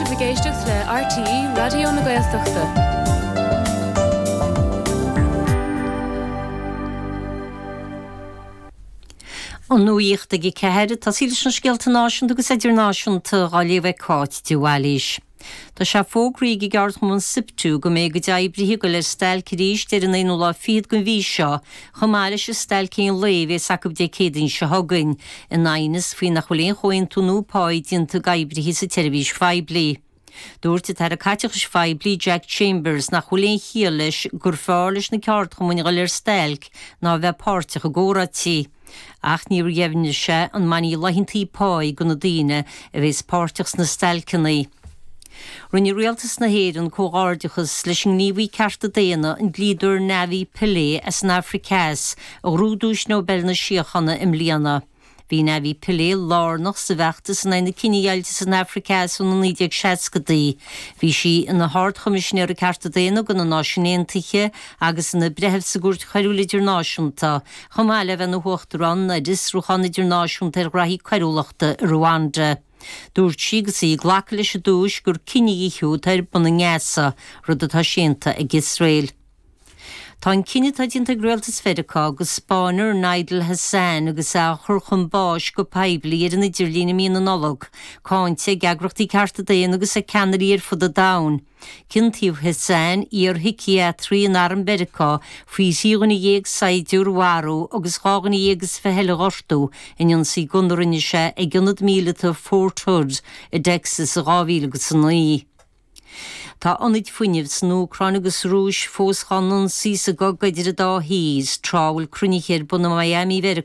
sibh ag éisteacht le RTÉ Raidió na Gaeltachta. An nuacht ag 4, tosaí leis na scéalta náisiúnta agus idirnáisiúnta á léamh ag Cáit de Bhailís. Tá sé fógraithe ag an gceardchumann Siptu go mbeidh a gcuid oibrithe ag dul ar stailc arís ar an aonú lá fichead den mhí seo, chomh maith leis an stailc aon lae a bhéas acu Dé Céadaoin seo chugainn, in aighneas faoi nach bhfuil aon chomhaontú nua páí déanta ag oibrithe sa tseirbhís phoiblí. Dúirt an tAire Caiteachais Phoiblí Jack Chambers nach bhfuil aon chiall leis gur fearr leis na ceardchumainn a dhul ar stailc ná a bheith páirteach i gcomhráití. Ach níor dheimhnigh sé an mbainfidh laethantaí páí de na daoine a bhéas páirteach sna stailceanna. Rinne Rialtas na hÉireann comhghairdeachas leis an ngníomhaí cearta daonna, an dlíodóir Navi Pillay as an Afraic Theas, a ghnóthaigh Duais Nobel na Síochána i mbliana. Bhí Navi Pillay lárnach sa bhfeachtas in aghaidh na cinedheighilte san Afraic Theas ó na 1960idí. Bhí sí ina hArd-Choimisinéir Cearta Daonna do na Náisiúin Aontaithe agus ina breitheamh sa gCúirt Choiriúil Idirnáisiúnta, chomh maith le bheith ina huachtarán ar Fhiosrúchán Idirnáisiúnta ar Ghraithí Coiriúlachta i Rwanda. Dúirt sí agus í ag glacadh leis an duais gur cinedhíothú atá ar bun i nGaza, rud atá séanta ag Iosrael. Tá an cinneadh atá déanta ag Rialtas Mheiriceá go spáinfear Nidal Hasan agus é á chur chun báis go poiblí ar an idirlíon i mí na Nollag, cáinte ag eagrachtaí cearta daonna agus ag ceannairí ar fud an domhain. Ciontaíodh Hasan, iar-shíciatraí in arm Mheiriceá, faoi thrí dhuine dhéag saighdiúir a mharú agus 12 dhuine eile a ghortú in ionsaí gunna a rinne sé ag ionad míleata Fort Hood i dTexas i 2009. Tá ionaid fuinnimh san Úcráin agus sa Rúis fós dhá n-ionsaí sa gcogadh idir an dá thír, tráth a bhfuil cruinnithe ar bun i Miami Mheiriceá.